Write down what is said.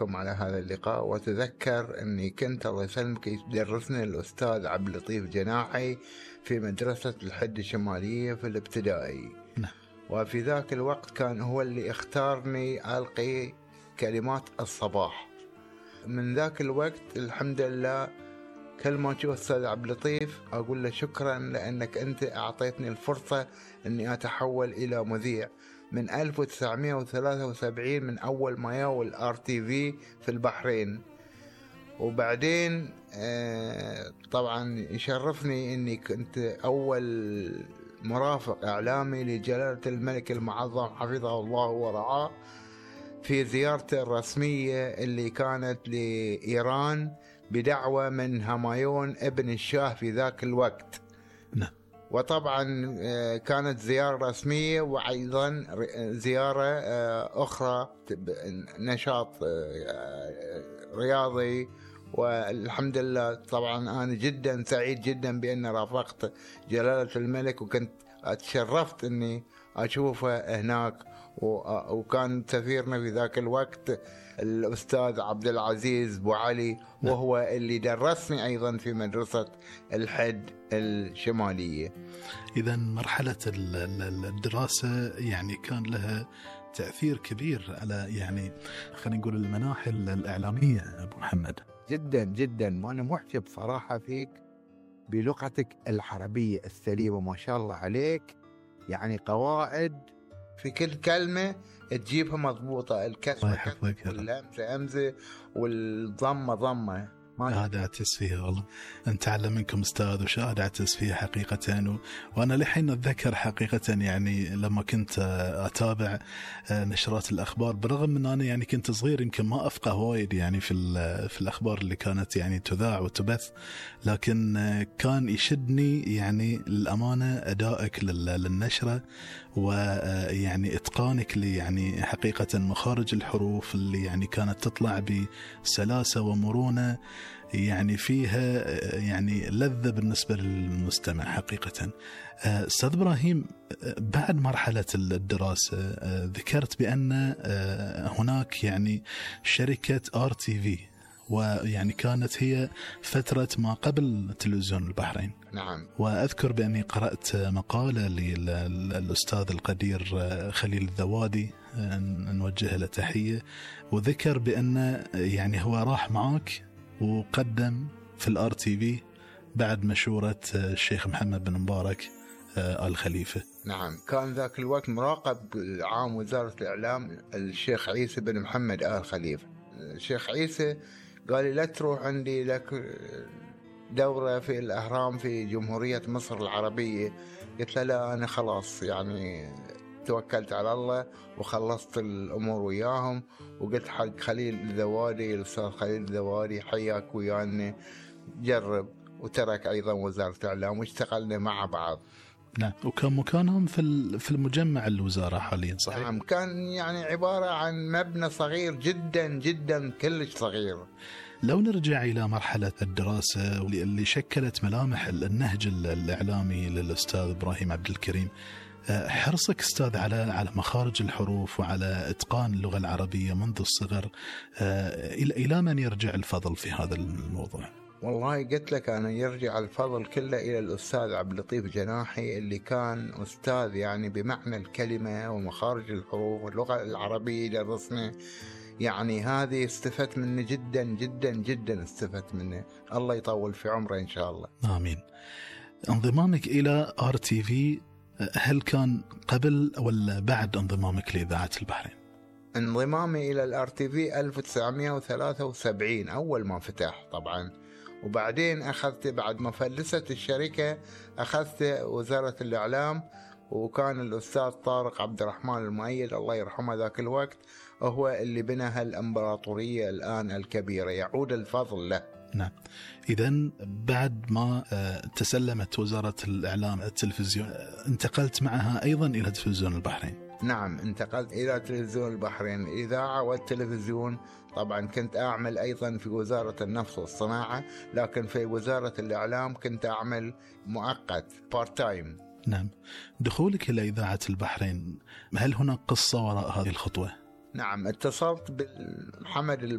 وياكم على هذا اللقاء. وأتذكر أني كنت الله يسلمك يدرسني الأستاذ عبد اللطيف جناحي في مدرسة الحد الشمالية في الابتدائي. وفي ذاك الوقت كان هو اللي اختارني ألقي كلمات الصباح. من ذاك الوقت الحمد لله كل ما أشوف أستاذ عبد اللطيف أقول له شكرا لأنك أنت أعطيتني الفرصة أني أتحول إلى مذيع من 1973 من أول ما ياو الRTV في البحرين. وبعدين طبعا يشرفني أني كنت أول مرافق إعلامي لجلالة الملك المعظم حفظه الله ورعاه في زيارته الرسمية اللي كانت لإيران بدعوة من همايون ابن الشاه في ذاك الوقت. وطبعا كانت زيارة رسمية وأيضا زيارة أخرى نشاط رياضي. والحمد لله طبعا أنا جدا سعيد جدا بأن رافقت جلالة الملك وكنت اتشرفت أني أشوفه هناك. وكان سفيرنا في ذاك الوقت الأستاذ عبد العزيز بو علي وهو اللي درسني أيضا في مدرسة الحد الشمالية. إذا مرحلة الدراسة يعني كان لها تأثير كبير على يعني خلينا نقول المناحل الإعلامية أبو محمد. جدا جدا. وأنا محجب صراحة فيك بلغتك العربية السليمة ما شاء الله عليك. يعني قواعد في كل كلمة تجيبها مضبوطة، الكسر والهمزة همزة والضمة ضمة. هذا أعتز فيها والله. أنت تعلم منكم أستاذ وشاهد أعتز فيها حقيقة. وأنا لحين أتذكر حقيقة يعني لما كنت أتابع نشرات الأخبار برغم أن أنا يعني كنت صغير يمكن ما أفقه وايد يعني في الأخبار اللي كانت يعني تذاع وتبث، لكن كان يشدني يعني للأمانة أدائك للنشرة ويعني إتقانك لي يعني حقيقة مخارج الحروف اللي يعني كانت تطلع بسلاسة ومرونة يعني فيها يعني لذة بالنسبة للمستمع حقيقة. أستاذ إبراهيم، بعد مرحلة الدراسة ذكرت بأن هناك يعني شركة RTV ويعني كانت هي فترة ما قبل تلفزيون البحرين. نعم. وأذكر بأني قرأت مقالة للأستاذ القدير خليل الذوادي نوجه له تحية، وذكر بأن يعني هو راح معك وقدم في الRTV بعد مشورة الشيخ محمد بن مبارك آل خليفة. نعم. كان ذاك الوقت مراقب عام وزارة الإعلام الشيخ عيسى بن محمد آل خليفة. الشيخ عيسى قال لي لا تروح عندي لك دورة في الأهرام في جمهورية مصر العربية. قلت له لا أنا خلاص يعني توكلت على الله وخلصت الأمور وياهم. وقلت حق خليل الذوادي الأستاذ خليل الذوادي حياك ويانا جرب، وترك أيضا وزارة الإعلام واشتغلنا مع بعض. نعم. وكان مكانهم في المجمع الوزارة حاليا صحيح؟ نعم. كان يعني عبارة عن مبنى صغير جدا جدا كلش صغير. لو نرجع إلى مرحلة الدراسة اللي شكلت ملامح النهج الإعلامي للأستاذ إبراهيم عبد الكريم، حرصك أستاذ على مخارج الحروف وعلى إتقان اللغة العربية منذ الصغر، إلى من يرجع الفضل في هذا الموضوع؟ والله قلت لك أنا يرجع الفضل كله إلى الأستاذ عبد اللطيف جناحي اللي كان أستاذ يعني بمعنى الكلمة ومخارج الحروف واللغة العربية درسنا. يعني هذه استفدت منه جدا جدا جدا استفدت منه. الله يطول في عمره إن شاء الله. آمين. انضمامك إلى RTV هل كان قبل ولا بعد انضمامك لإذاعة البحرين؟ انضمامي إلى الRTV 1973 أول ما فتح طبعا. وبعدين أخذت بعد ما فلست الشركة أخذت وزارة الإعلام، وكان الأستاذ طارق عبد الرحمن المؤيد الله يرحمه ذاك الوقت هو اللي بنى هالإمبراطورية الآن الكبيرة، يعود الفضل له. نعم. إذن بعد ما تسلمت وزارة الإعلام التلفزيون انتقلت معها أيضا إلى تلفزيون البحرين. نعم انتقلت إلى تلفزيون البحرين الإذاعة والتلفزيون. طبعا كنت أعمل أيضا في وزارة النفط والصناعة، لكن في وزارة الإعلام كنت أعمل مؤقت بارت تايم. نعم. دخولك إلى إذاعة البحرين هل هناك قصة وراء هذه الخطوة؟ نعم اتصلت بالحمد